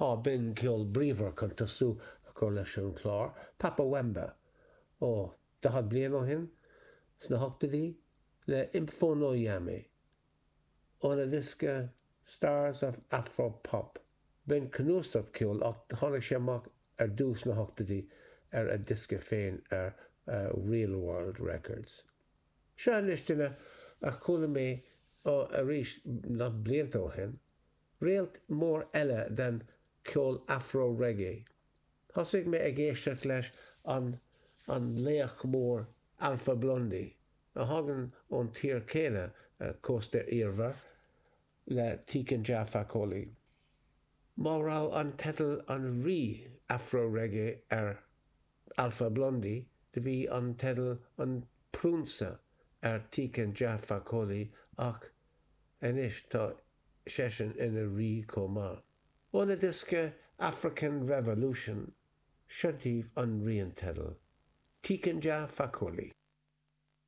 Á, b'in ceol bríomhar chun tosú a chur leis an chlár, Papa Wemba, ó, 40 bliain ó shin, sna hochtóidí, le Im Fono Yami, óna dhiosca Stars of Afro Pop. B'in cnuasach ceoil ach tháinig sé amach ar dtús sna hochtóidí ar a dhiosca féin ar Real World Records. Seo anois duine a chuala mé, ó, arís, nach blianta ó shin, Réalt mór eile den cheol afro-reggae. Thosaigh mé ag éisteacht leis an an laoch mór Alpha Blondy, a thagann ón tír céanna, Cósta Iarmhar, le Tiken Jah Fakoly. Má raibh an teideal an Rí Afro-Reggae ar Alpha Blondy, do bhí an teideal an Prionsa ar Tiken Jah Fakoly ach anois tá seisean ina rí chomh maith. Óna dhiosca African Revolution, seo daoibh an ríonteidil, Tiken Jah Fakoly.